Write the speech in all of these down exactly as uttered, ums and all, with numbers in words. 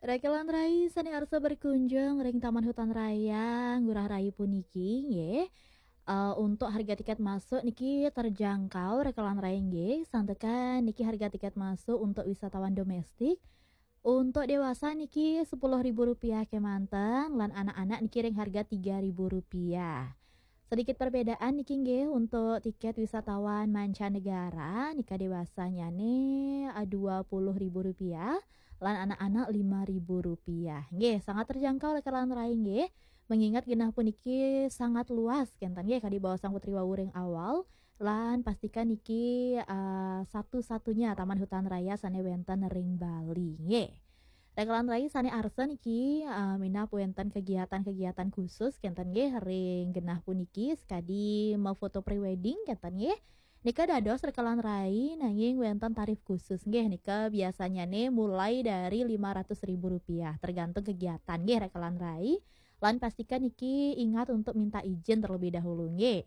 Rekelan rai sane arsa berkunjung ring Taman Hutan Raya Ngurah Rai puniki, nggih. Eh, untuk harga tiket masuk niki terjangkau, rekelan rai, nggih. Santukan niki harga tiket masuk untuk wisatawan domestik. Untuk dewasa niki sepuluh ribu rupiah kemanten, lan anak-anak niki ring harga tiga ribu rupiah. Sedikit perbedaan niki, nggih, untuk tiket wisatawan mancanegara, nika dewasanyane, eh, dua puluh ribu rupiah, lan anak-anak lima ribu rupiah. Nggih, sangat terjangkau, rekelan rai, nggih. Mengingat genah puniki sangat luas, kenten, nggih, kadi baos Sang Putri wau ring awal, lan pastikan niki, eh, satu-satunya Taman Hutan Raya sane wenten ring Bali, nggih. Rekelan rai sane arsa niki, eh, minab wenten kegiatan-kegiatan khusus, kenten, nggih, ring genah puniki, sakadi mafoto pre-wedding, kenten, nggih. Nika dados, rekelan rai, nanging wenten tarif khusus, nggih. Nika biasanyane mulai dari lima ratus ribu rupiah, tergantung kegiatan, nggih, rekelan rai. Lan pastikan niki ingat untuk minta izin terlebih dahulu, nggih.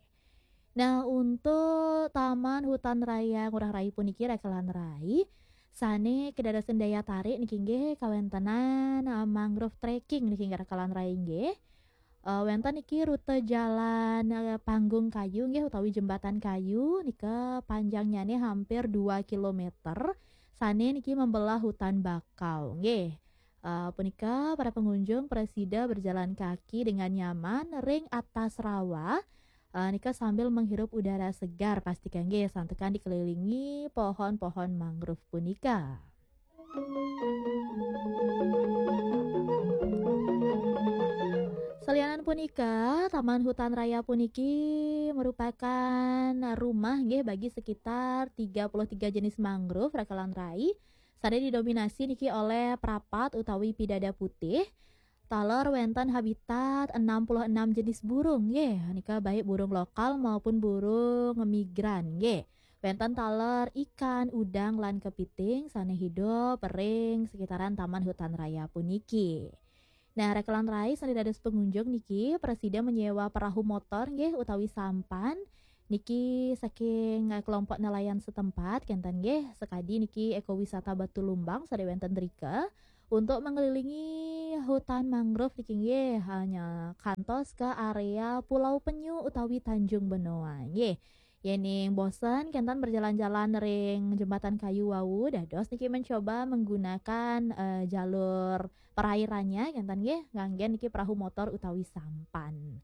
Nah, untuk Taman Hutan Raya Ngurah Rai puniki, rekelan rai, sane kedadosan daya tarik niki, nggih, kawentenan, eh, mangrove trekking niki, rekelan rai, nggih. Eh, wenten niki rute jalan, eh, panggung kayu, nggih, utawi jembatan kayu, nika panjangnyane hampir dua kilometer, sane niki membelah hutan bakau, nggih. Eh, punika para pengunjung prasida berjalan kaki dengan nyaman ring atas rawa, eh, nika sambil menghirup udara segar, pastikan, nggih, santukan dikelilingi pohon-pohon mangrove punika. Salianan punika, Taman Hutan Raya puniki merupakan rumah, nggih, bagi sekitar tiga puluh tiga jenis mangrove, rekelan rai, sane didominasi niki oleh prapat utawi pidada putih. Taler wenten habitat enam puluh enam jenis burung, nggih. Nika baik burung lokal maupun burung migran, nggih. Wenten taler ikan, udang, lan kepiting sane hidup ring sekitaran Taman Hutan Raya puniki. Nah, rekelan rai sane dados pengunjung niki, prasida menyewa perahu motor, nggih, utawi sampan. Niki saking, eh, kelompok nelayan setempat, kenten, nggih, sakadi niki ekowisata Batu Lumbang sane wenten drika, untuk mengelilingi hutan mangrove niki, nggih, hanya kantos ke area Pulau Penyu utawi Tanjung Benoa, nggih. Yening bosen kenten berjalan-jalan ring jembatan kayu wau, dados niki mencoba menggunakan, eh, jalur perairannya, kenten, nggih, nganggen niki perahu motor utawi sampan.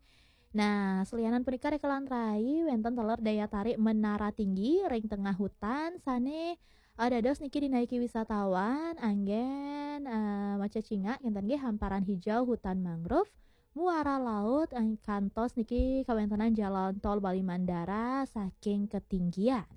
Nah, salianan punika, rekelan rai, wenten taler daya tarik menara tinggi ring tengah hutan sane, eh, dados niki dinaiki wisatawan anggen, eh, macecingak, kenten, nggih, hamparan hijau hutan mangrove, muara laut, eh, kantos niki kawentenan jalan tol Bali Mandara saking ketinggian.